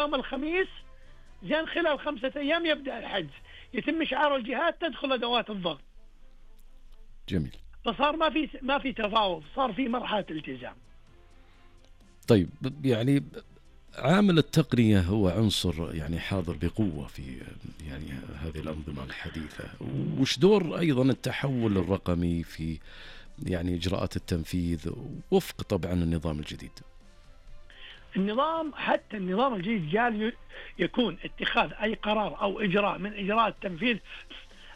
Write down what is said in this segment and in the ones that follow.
يوم الخميس زين خلال 5 أيام يبدأ الحجز، يتم إشعار الجهات، تدخل أدوات الضغط. جميل. فصار ما في تفاوض، صار في مرحلة التزام. طيب يعني عامل التقنية هو عنصر يعني حاضر بقوة في يعني هذه الأنظمة الحديثة. وش دور أيضا التحول الرقمي في يعني إجراءات التنفيذ وفق طبعا النظام الجديد؟ حتى النظام الجديد جال يكون اتخاذ أي قرار أو إجراء من إجراءات التنفيذ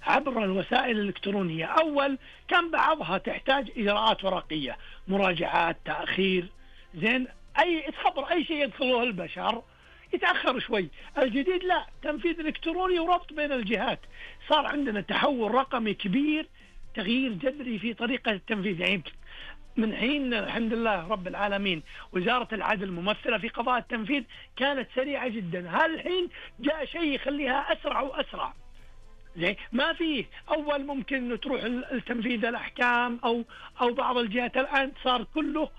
عبر الوسائل الإلكترونية. أول كان بعضها تحتاج إجراءات ورقية، مراجعات، تأخير، زين خبر أي شيء يدخله البشر يتأخر شوي. الجديد لا، تنفيذ إلكتروني وربط بين الجهات. صار عندنا تحول رقمي كبير، تغيير جذري في طريقة التنفيذ. يعني من حين الحمد لله رب العالمين وزارة العدل ممثلة في قضاء التنفيذ كانت سريعة جدا، هالحين جاء شيء يخليها أسرع وأسرع. زي ما فيه أول ممكن تروح التنفيذ الأحكام أو بعض الجهات، الآن صار كله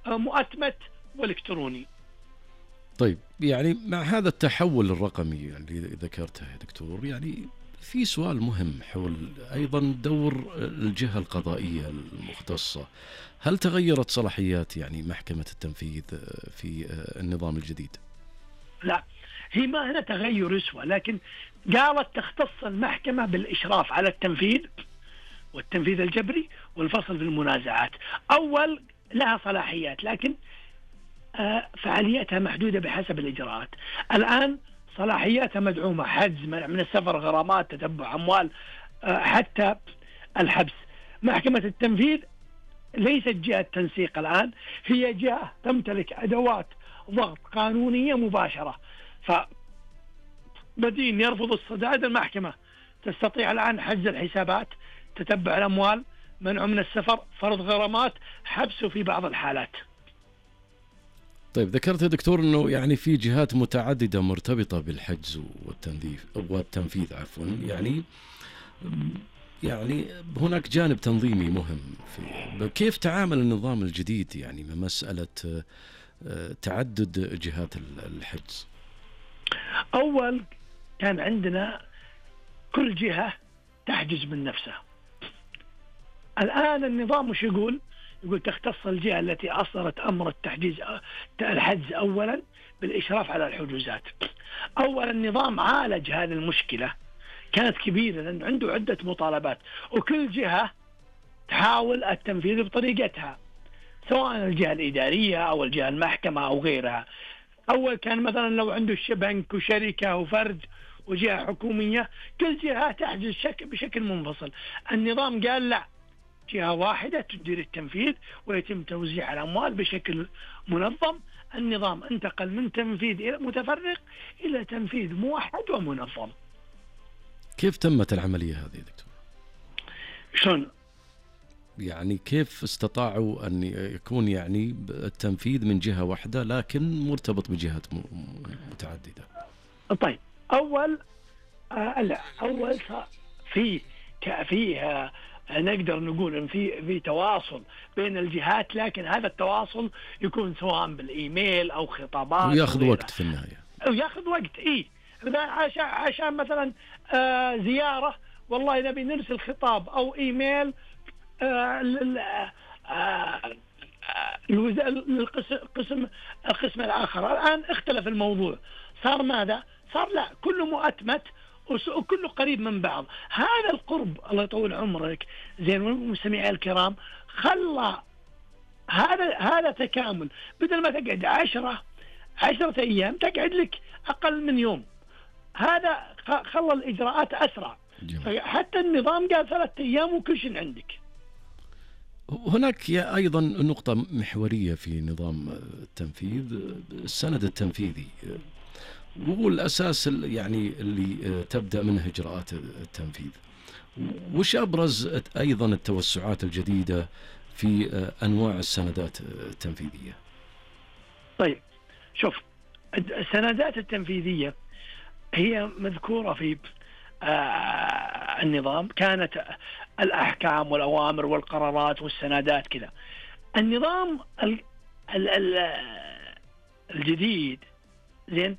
مؤتمت والكتروني. طيب يعني مع هذا التحول الرقمي اللي ذكرته يا دكتور، يعني في سؤال مهم حول أيضا دور الجهة القضائية المختصة. هل تغيرت صلاحيات يعني محكمة التنفيذ في النظام الجديد؟ لا، هي ما هنا تغير يسوى، لكن قالت تختص المحكمة بالإشراف على التنفيذ والتنفيذ الجبري والفصل في المنازعات. أول لها صلاحيات، لكن فعاليتها محدودة بحسب الإجراءات. الآن صلاحياتها مدعومة، حجز، منع من السفر، غرامات، تتبع أموال، حتى الحبس. محكمة التنفيذ ليست جهة تنسيق الآن، هي جهة تمتلك أدوات ضغط قانونية مباشرة. فمدين يرفض السداد، المحكمة تستطيع الآن حجز الحسابات، تتبع الأموال، منع من السفر، فرض غرامات، حبسه في بعض الحالات. طيب ذكرت يا دكتور أنه يعني في جهات متعددة مرتبطة بالحجز والتنفيذ يعني هناك جانب تنظيمي مهم في كيف تعامل النظام الجديد يعني مع مسألة تعدد جهات الحجز. أول كان عندنا كل جهة تحجز من نفسها. الآن النظام مش يقول تختص الجهة التي أصدرت أمر الحجز أولا بالإشراف على الحجوزات. أولا النظام عالج هذه المشكلة، كانت كبيرة لأن عنده عدة مطالبات، وكل جهة تحاول التنفيذ بطريقتها، سواء الجهة الإدارية أو الجهة المحكمة أو غيرها. أول كان مثلا لو عنده بنك وشركة وفرد وجهة حكومية، كل جهة تحجز بشكل منفصل. النظام قال لا، جهة واحدة تدير التنفيذ ويتم توزيع الأموال بشكل منظم. النظام انتقل من تنفيذ متفرق إلى تنفيذ موحد ومنظم. كيف تمت العملية هذه دكتور؟ شلون؟ يعني كيف استطاعوا أن يكون يعني التنفيذ من جهة واحدة لكن مرتبط بجهات متعددة؟ طيب أول في نقدر نقول إن في تواصل بين الجهات، لكن هذا التواصل يكون سواء بالإيميل أو خطابات، ويأخذ وقت في النهاية، ويأخذ وقت. عشان مثلا زيارة، والله نبي نرسل خطاب أو إيميل القسم الآخر. الآن اختلف الموضوع، صار ماذا؟ صار لا، كله مؤتمت وكله قريب من بعض. هذا القرب الله يطول عمرك زين والمستمعين الكرام خلى هذا تكامل. بدل ما تقعد 10 أيام تقعد لك أقل من يوم. هذا خلى الإجراءات أسرع. حتى النظام قال 3 أيام وكل شيء عندك. هناك أيضا نقطة محورية في نظام التنفيذ، السند التنفيذي، وهو الأساس يعني اللي تبدأ منه إجراءات التنفيذ. وش أبرز أيضا التوسعات الجديدة في أنواع السندات التنفيذية؟ طيب شوف، السندات التنفيذية هي مذكورة في النظام، كانت الأحكام والأوامر والقرارات والسندات كذا. النظام الجديد زين